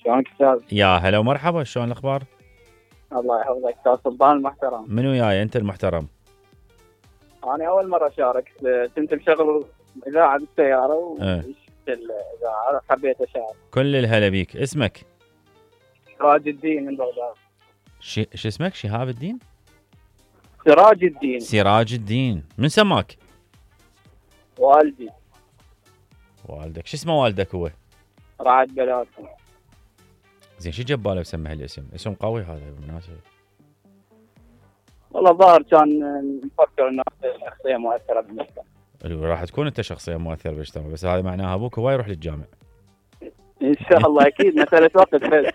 شلونك استاذ؟ يا هلا ومرحبا، شلون الاخبار؟ الله يحفظك استاذ سلطان المحترم. من وياي انت المحترم؟ انا اول مره اشارك، كنت مشغل اذاعه بالسياره ايه. وشفت الاذاعه حبيت اشارك. كل الهلا بيك. اسمك؟ سراج الدين من بغداد. شو اسمك؟ شهاب الدين؟ سراج الدين. سراج الدين. من سماك؟ والدي. والدك شو اسمه والدك هو؟ رعد بلاتي. زين شو جباله بسمي هالاسم؟ اسم قوي هذا بالمناسبة. والله الظاهر كان مفكر انه شخصيه مؤثره بالمجتمع. راح تكون انت شخصية مؤثرة بالمجتمع، بس هذا معناها ابوك هو يروح للجامع. ان شاء الله اكيد مساله وقت بس.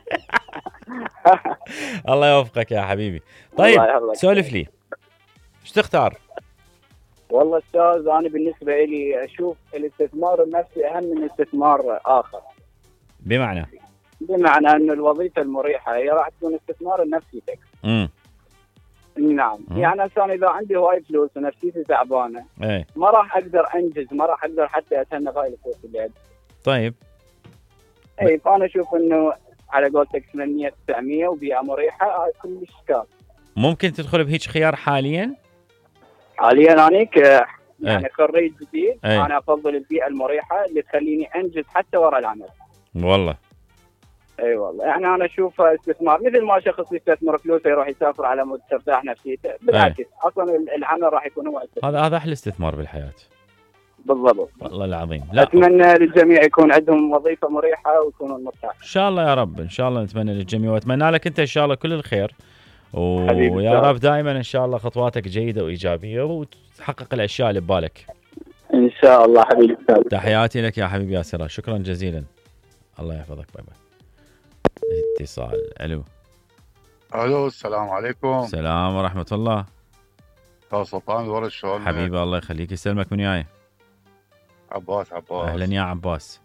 الله يوفقك يا حبيبي. طيب سولف لي، ايش تختار؟ والله استاذ انا بالنسبه لي اشوف الاستثمار النفسي اهم من استثمار اخر. بمعنى انه الوظيفه المريحه هي راح تكون استثمار النفسي لك. نعم. يعني انا اذا عندي هواي فلوس ونفسيتي تعبانه ما راح اقدر انجز، ما راح اقدر حتى اتهنى بهاي الفلوس اللي عندي. طيب فانا اشوف انه على قولتك 800 900 وبيئه مريحه كلش كاف. ممكن تدخل بهيج خيار حاليا انيك يعني خريج جديد. انا افضل البيئه المريحه اللي تخليني انجز حتى وراء العمل. والله اي والله يعني انا اشوفها استثمار، مثل ما شخص يستثمر فلوسه يروح يسافر على مود ترتاح نفسيته، بالعكس اصلا العمل راح يكون هو استثمار. هذا احلى استثمار بالحياه. بالضبط والله العظيم. لا اتمنى للجميع يكون عندهم وظيفه مريحه ويكونوا مرتاحين. ان شاء الله يا رب، ان شاء الله نتمنى للجميع، واتمنى لك انت ان شاء الله كل الخير، ويا رب دائما ان شاء الله خطواتك جيده وايجابيه وتحقق الاشياء اللي ببالك ان شاء الله. حبيبي تحياتي لك يا حبيبي يا سراج، شكرا جزيلا. الله يحفظك. باي باي. اتصال. الو السلام عليكم. السلام ورحمه الله. استاذ سلطان الورد شلونك؟ حبيبي الله يخليك. يسلمك. من وياي؟ عباس. اهلا يا عباس.